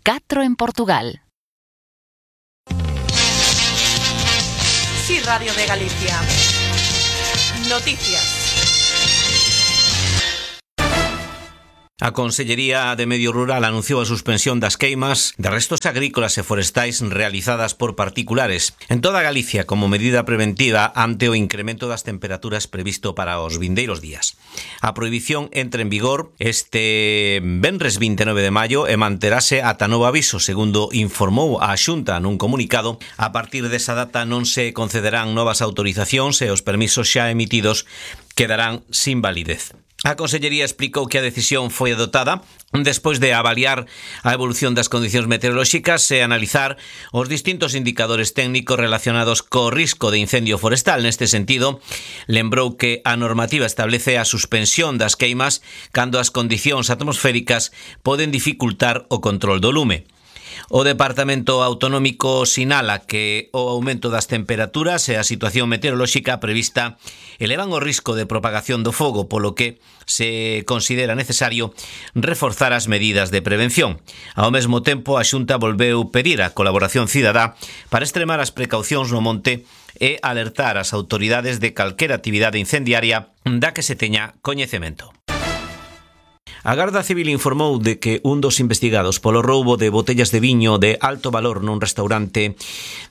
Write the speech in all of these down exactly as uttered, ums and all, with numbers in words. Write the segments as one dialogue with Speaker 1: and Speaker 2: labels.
Speaker 1: catro en Portugal.
Speaker 2: Sí, Radio de Galicia. Noticias.
Speaker 3: A Consellería de Medio Rural anunciou a suspensión das queimas de restos agrícolas e forestais realizadas por particulares en toda Galicia como medida preventiva ante o incremento das temperaturas previsto para os vindeiros días. A prohibición entra en vigor este venres vinte e nove de maio e manterase ata novo aviso, segundo informou a Xunta nun comunicado. A partir desa data non se concederán novas autorizacións e os permisos xa emitidos quedarán sin validez. A Consellería explicou que a decisión foi adoptada despois de avaliar a evolución das condicións meteorolóxicas e analizar os distintos indicadores técnicos relacionados co risco de incendio forestal. Neste sentido, lembrou que a normativa establece a suspensión das queimas cando as condicións atmosféricas poden dificultar o control do lume. O Departamento Autonómico sinala que o aumento das temperaturas e a situación meteorolóxica prevista elevan o risco de propagación do fogo, polo que se considera necesario reforzar as medidas de prevención. Ao mesmo tempo, a Xunta volveu pedir a colaboración cidadá para extremar as precaucións no monte e alertar as autoridades de calquera actividade incendiaria da que se teña coñecemento. A Garda Civil informou de que un dos investigados polo roubo de botellas de viño de alto valor nun restaurante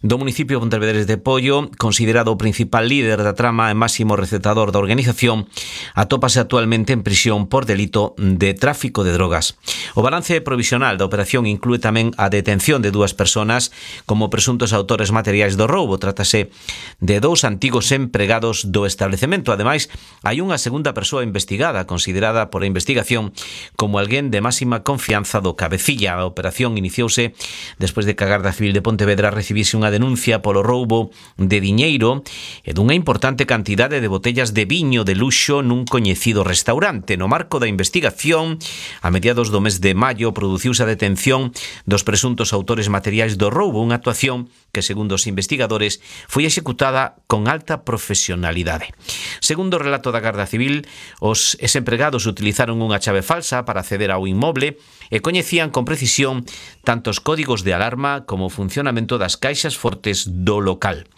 Speaker 3: do municipio de Pontevedrés de Poio, considerado o principal líder da trama e máximo recetador da organización, atópase actualmente en prisión por delito de tráfico de drogas. O balance provisional da operación inclúe tamén a detención de dúas persoas como presuntos autores materiais do roubo. Trátase de dous antigos empregados do establecemento. Ademais, hai unha segunda persoa investigada, considerada por a investigación como alguén de máxima confianza do cabecilla. A operación iniciouse despois de que a Garda Civil de Pontevedra recibise unha denuncia polo roubo de diñeiro e dunha importante cantidade de botellas de viño de luxo nun coñecido restaurante. No marco da investigación, a mediados do mes de maio, produciuse a detención dos presuntos autores materiais do roubo, unha actuación que, segundo os investigadores, foi executada con alta profesionalidade. Segundo o relato da Garda Civil, os empregados utilizaron unha chave falsa para acceder ao inmoble e coñecían con precisión tanto os códigos de alarma como o funcionamento das caixas fortes do local.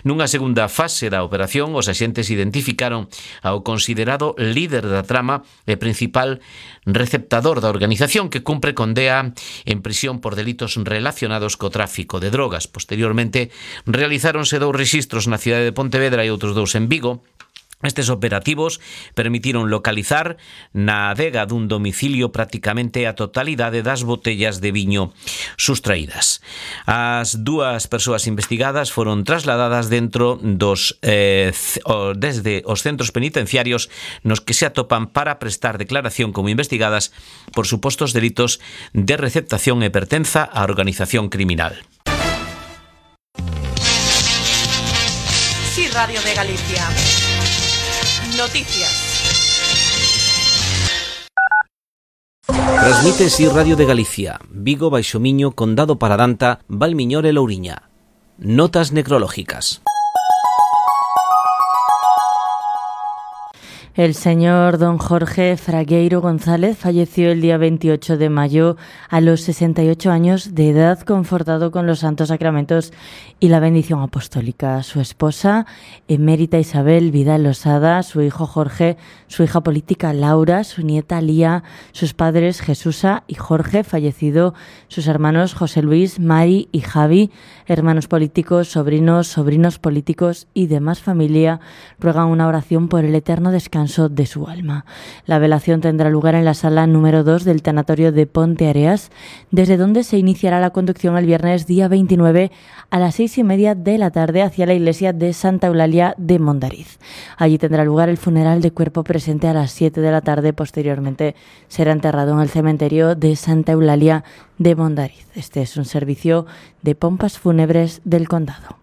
Speaker 3: Nunha segunda fase da operación, os axentes identificaron ao considerado líder da trama e principal receptador da organización, que cumpre condea en prisión por delitos relacionados co tráfico de drogas. Posteriormente, realizáronse dous rexistros na cidade de Pontevedra e outros dous en Vigo. Estes operativos permitiron localizar na adega dun domicilio prácticamente a totalidade das botellas de viño sustraídas. As dúas persoas investigadas foron trasladadas dentro dos eh, desde os centros penitenciarios nos que se atopan para prestar declaración como investigadas por supostos delitos de receptación e pertenza á organización criminal.
Speaker 2: Sí, Radio de Galicia. Noticias.
Speaker 3: Transmite Si Radio de Galicia, Vigo, Baixo Miño, Condado Paradanta, Valmiñor e Louriña. Notas necrológicas.
Speaker 4: El señor don Jorge Fragueiro González falleció el día veintiocho de mayo a los sesenta y ocho años de edad, confortado con los santos sacramentos y la bendición apostólica. Su esposa, emérita Isabel Vidal Losada, su hijo Jorge, su hija política Laura, su nieta Lía, sus padres Jesusa y Jorge, fallecido, sus hermanos José Luis, Mari y Javi, hermanos políticos, sobrinos, sobrinos políticos y demás familia, ruegan una oración por el eterno descanso de su alma. La velación tendrá lugar en la sala número dos del tanatorio de Ponte Areas, desde donde se iniciará la conducción el viernes día veintinueve a las seis y media de la tarde hacia la iglesia de Santa Eulalia de Mondariz. Allí tendrá lugar el funeral de cuerpo presente a las siete de la tarde. Posteriormente será enterrado en el cementerio de Santa Eulalia de Mondariz. Este es un servicio de pompas fúnebres del condado.